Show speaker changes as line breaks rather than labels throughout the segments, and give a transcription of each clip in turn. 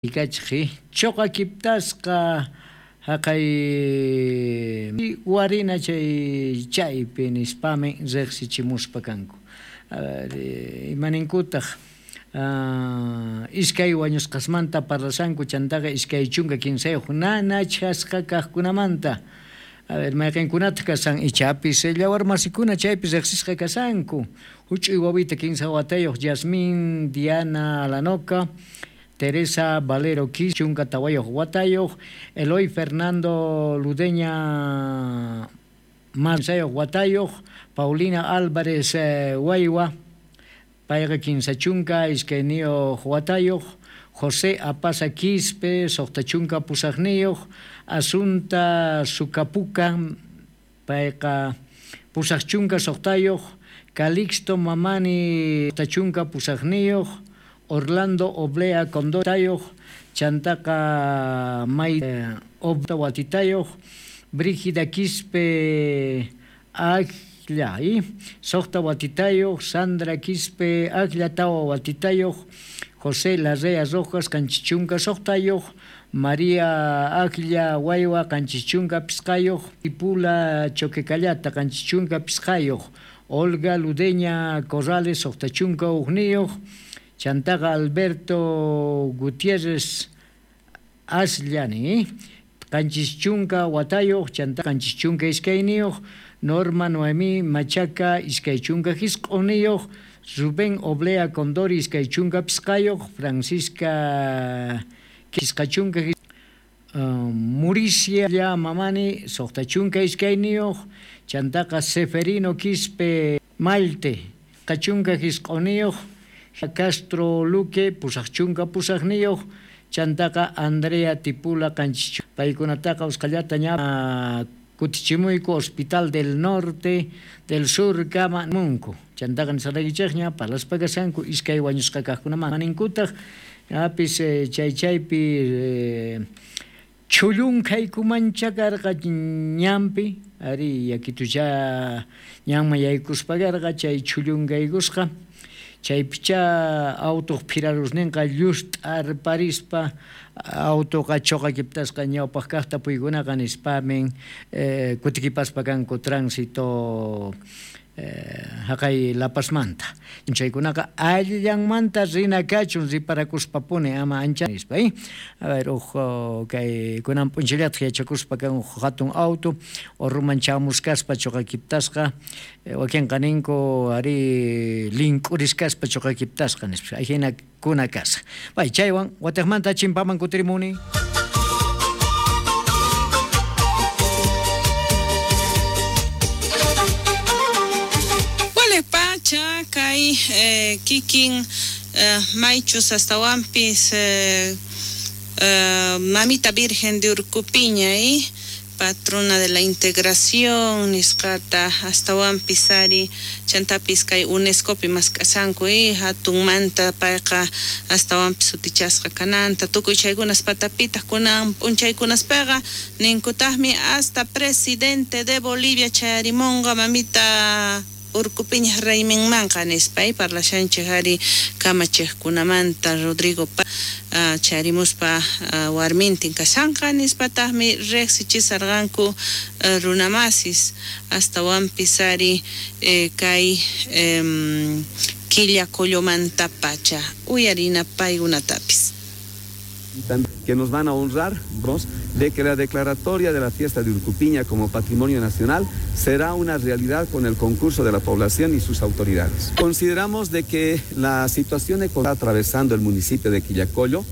Kachij choqakiptasqa haqay warina chay chaypi nispami riqsichimuspa kanku. Imaninkutaq iskay wañusqasmanta parlashanku chantaqa 23 nanachasqa kaqkunamanta. A ver, mayqinkunataq kashan ichapis llawarmasikuna chaypi riqsisqa kashanku. Huch'uy wawita 15 watayuq Yasmín Diana Alanoca, Teresa Valero Quis, 14 watayuq, Eloy Fernando Ludeña Mansayuq watayuq, Paulina Álvarez Waywa, payqa 32 watayuq, José Apaza Quispe, 68niyuq, Asunta Sucapuca, payqa 86yuq, Calixto Mamani 88niyuq, Orlando Oblea Condotayuq, chantaqa May Obta Watitayuq, Brígida Quispe Aglla, 6 watitayuq, Sandra Quispe Aglla 4 watitayuq, José Larrea Rojas 76yuq, María Aglla Waywa 75yuq, Tipula Choquecallata 75yuq, Olga Ludeña Corrales 61niyuq, chantaqa Alberto Gutiérrez Asllani 70 watayuq, chantaqa 72niyuq, Norma Noemí Machaca 29niyuq, Rubén Oblea Condori 25yuq, Francisca 50, Muricia Mamani 62niyuq, chantaqa Seferino Quispe Malte 59niyuq, Castro Luque 88niyuq, chantaqa Andrea Tipula 7. Paykunataqa usqallata ña kutichimuyku Hospital del Norte del Sur kama munku. Chantaqa nisqaykichikña parlaspa kashanku iskay wañusqa kaqkunaman ninkutaq apis chay chaypi chhullunkhaykumancha karqa ñanpi ari yakitucha ñanman yaykuspa karqa chay chhullunkaykusqa chaypicha autuq phirarusninqa llust'arparispa autoqa choqakiptasqa ñawpaq kaqta puykunaqa nispamin kutikipaspa kanku tránsito haqay Lapasmanta. Chaykunaqa allillanmanta rina kachun riparakuspapuni ama ancha nispa. A ver, uj kay kunan p'unchayllataq yachakuspa kan uj hatun auto urruman chamuskaspa choqakiptasqa wakinqa ninku ari link'uriskaspa choqakiptasqa nispa. Ajina kuna kasa. Bay chaywan watiqmanta chimpaman kutirimuni.
Kay kikin maychus astawanpis Mamita Virgen de Urcupiña patrona de la integración nisqata astawanpis ari chantapis kay UNESCOpi mask'asanku hatunmanta payqa astawanpis sutichasqa kananta tukuy chaykunas patapitaq kunan p'unchaykunaspaqa ninkutaqmi hasta presidente de Bolivia chayarimunqa Mamita Urcupiña rayminmanqa nispa parlashanchik ari kamachiqkunamanta Rodrigo chayarimuspa warmintin kashanqa nispataqmi riqsichisarqanku runamasis astawanpis ari kay Quillacollomantapacha uyarina paykunatapis.
Que nos van a honrar de que la declaratoria de la fiesta de Urcupiña como patrimonio nacional será una realidad con el concurso de la población y sus autoridades. Consideramos de que la situación que está atravesando el municipio de Quillacollo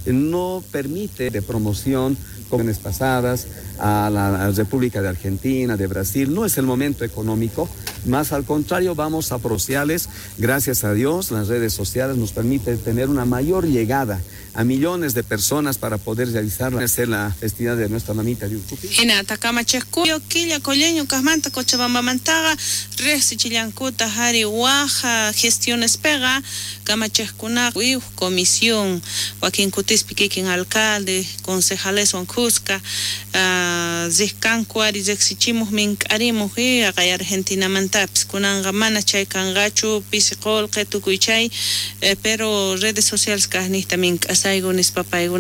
no permite de promoción como pasadas a la República de Argentina, de Brasil. No es el momento económico, más al contrario vamos a sociales. Gracias a Dios, las redes sociales nos permiten tener una mayor llegada a millones de personas para poder realizar la festividad de nuestra mamita de Urcupiña.
Hinata kamachejkuyo Quillacolleño kajmanta Cochabambamantaqa riqsichillankuta hari waja gestiones pega kamachejkuna comisión wakin kutispi kikin alcalde concejaleswan kuska riqkanku ari riqsichimuq mink'arimuq haqay Argentinamantapis kunanqa mana chay kanqachu pisi qullqi tukuy chay pero redes sociales kaqniqta mink'asayku nispa paykuna.